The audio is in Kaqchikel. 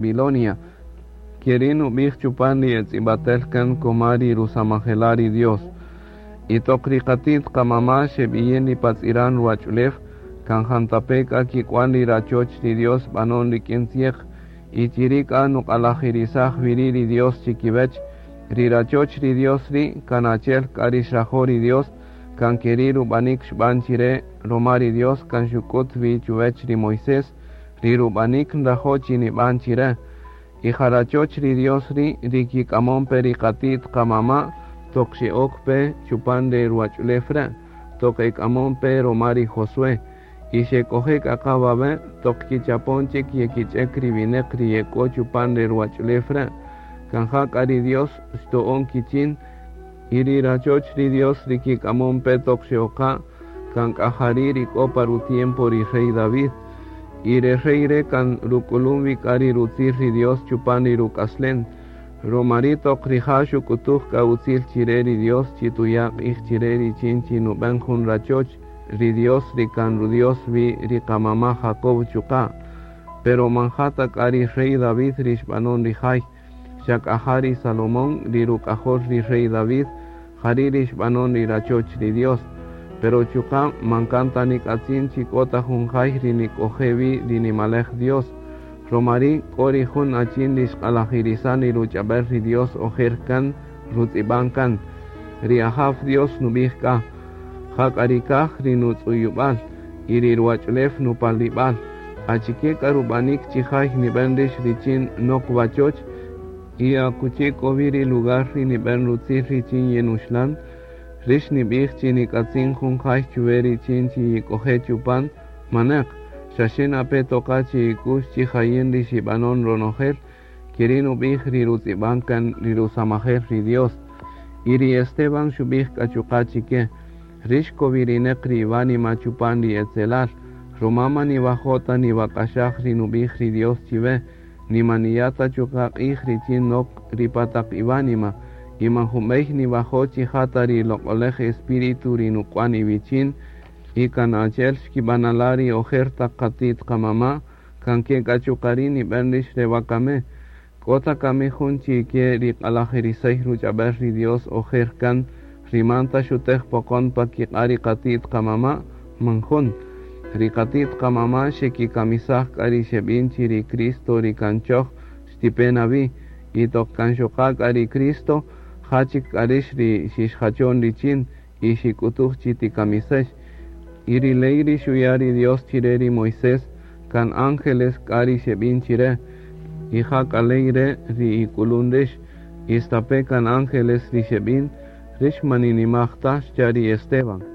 Babilonia. Keri' nub'ij chupan ri etz'ib'atel kan koma ri rusamajela' ri Dios. Y toq ri qati't qamama' xeb'iyin ri pa tz'iran ruwach'ulew, kan jantape' k'a kik'wan ri rachoch ri Dios b'anon rik'in tzieq, y chiri' k'a nuq'alajirisaj wi ri' ri Dios chikiwech. Ri rachoch ri Dios ri' kan achi'el k'a ri xrajo' ri Dios, kan keri' rub'anik xb'an chire roma ri Dios kan xuk'ut wi chuwech ri Moisés ri rub'anik nrajo' chi nib'an chire. Y ja rachoch ri Dios ri' ri kik'amon pe ri qati't qamama' toq xe'ok pe chupan re ruwach'ulew re', toq ek'amon pe roma ri Josué. Y xek'oje' k'a qa wawe' toq kichapon chik yekich'ek ri wineq ri yek'o chupan re ruwach'ulew re'. Kan ja k'a ri Dios xto'on kichin, y ri rachoch ri Dios ri kik'amon pe toq xe'oqa' kan k'a jari' ri k'o pa ru-tiempo ri rey David. Y re rey re' kan ruk'ulun wi k'a ri rutzil ri Dios chupan ri ruk'aslen. Roma ri' toq rija' xuk'utuj k'a utzil chire ri Dios chi tuya' q'ij chire richin chi nub'en jun rachoch ri Dios ri kan ru-Dios wi ri qamama' Jacob chuqa'. Pero man ja ta k'a ri rey David ri xb'anon ri jay, xa k'a ja ri Salomón ri ruk'ajol ri rey David, jari' ri xb'anon ri rachoch ri Dios. Pero chuqa' man kan ta nik'atzin chi k'o ta jun jay ri nik'oje' wi ri nimalej Dios. Roma ri' k'o ri jun achin ri xq'alajirisan ri ruch'ab'el ri Dios ojer kan rutz'ib'an kan. Ri Ajaw Dios nub'ij k'a, Ja k'a ri kaj ri nutz'uyub'al y ri ruwach'ulew nupalib'al. Achike k'a rub'anik chi jay nib'en rix richin nok wachoch? Y akuchi k'o wi ri lugar ri nib'en rutzil richin yinuxlan? Rix nib'ij chi nik'atzin jun jay chuwe richin chi yik'oje' chupan? Maneq, xaxe na pe toqa chi ik'u'x chi ja yin ri xib'anon ronojel, keri' nub'ij ri rutz'ib'an kan ri rusamajel ri Dios. Y ri Esteban xub'ij k'a chuqa' chike, Rix kowirineq ri iwánima chupan ri etzelal, roma man niwajo' ta niwak'axaj ri nub'ij ri Dios chiwe, ni man niya' ta chuqa' q'ij richin nok ri pa taq iwánima, y man jun b'ey niwajo' chi ja ta ri Loq'olej Espíritu ri nuk'wan iwichin, y kan achi'el xkib'anala' ri ojer taq qati't qamama', kan ke k'a chuqa' ri' nib'en rix re wakame. K'o ta kami jun chi ke ri q'alajirisey ruch'ab'el ri Dios ojer kan ri man ta xutej poqon pa kiq'a' ri qati't qamama'? Man jun. Ri qati't qamama' xekikamisaj k'a ri xeb'in chi ri Cristo ri kan choj xtipe na wi, y toq kan xoqa' k'a ri Cristo, ja chik k'a rix ri xixjachon richin y xik'utuj chi tikamisex. Y ri ley ri xuya' ri Dios chire ri Moisés, kan ángeles k'a ri xeb'in chire, y ja k'a ley re' ri ik'ulun rix, y stape' kan ángeles ri xeb'in, rix man ninimaj ta, xcha' ri Esteban.